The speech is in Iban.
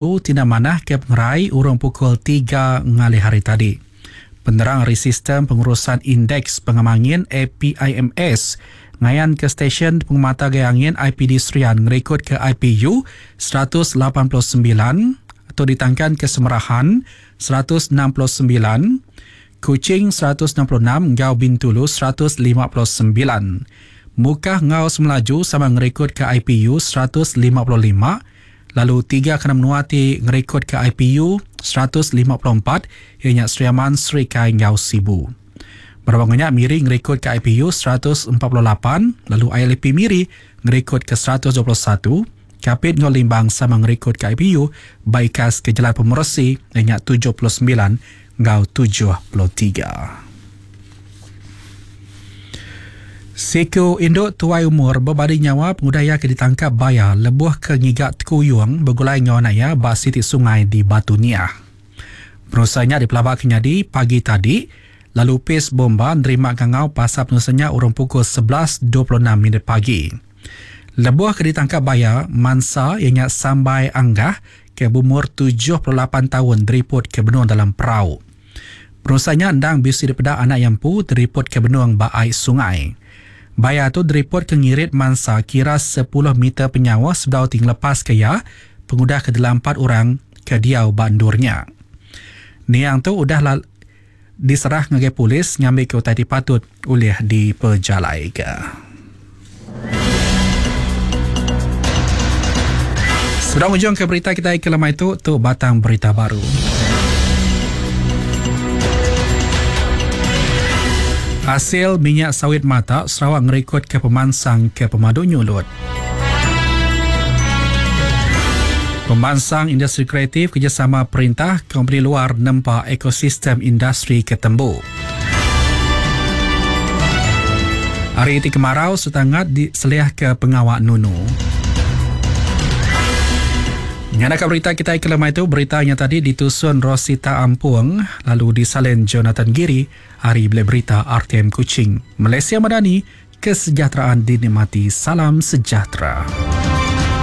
Tina manah ke pengerai urung pukul tiga ngalih hari tadi. Penerang ari Sistem Pengurusan Indeks Pengamangin APIMS ngayanka stesyen pengemata gaya angin IPD Serian ngerikodka IPU 189 tu ditangkanka Semerahan 169, Kuching 166 enggau Bintulu 159. Mukah enggau Semelaju sama ngerikodka IPU 155 lalu tiga kena menua ti ngerikodka IPU 154 iya nya Sri Aman, Serikai enggau Sibu. Berapa nya Miri ngerikodka IPU 148 lalu ILP Miri ngerikodka 121. Kapit enggau Limbang sama ngerikodka IPU ba ikas ke jelan pemeresi iya nya 79 enggau 73. Siku indu tuai umur bebadi nyawa pengudah iya ke ditangkap baya lebuh ke ngiga tekuyung begulai enggau anak iya ba siti sungai di Batu Niah. Penusah nya dipelabaka nyadi pagi tadi lalu opis bomba nerima ngangau pasal penusah nya urung pukul 11.26 minit pagi. Lebuh ke ditangkap baya, mansa iya nya Sambai Anggah ke beumur 78 taun diriput ke benung dalam perau. Penusah nya endang bisi dipeda anak iya empu diriput ke benung ba ai sungai. Baya tu diriput ke ngirit mansa kira 10 meter penyauh sebedau ti ngelepaska iya pengudah ke dilampat orang ke diau ba endur nya. Niang tu udah diserah ngagai polis ngambika utai ti patut ulih dipejalaika. Sebedau ngujungka berita kitai ke lemai tu, tu batang berita baru. Asil minyak sawit mata Sarawak ngerikodka pemansang ke pemadu nyulut. Pemansang industri kreatif kerjasama perintah kompeni luar nempa ekosistem industri ke tembu. Hari ti kemarau sereta ngat diseliahka pengawa nunu. Nyadaka berita kitai ke lemai tu, berita nya tadi ditusun Rosita Ampung lalu disalin Jonathan Giri ari Bilik Berita RTM Kuching. Malaysia Madani, kesejahteraan dinikmati. Salam sejahtera.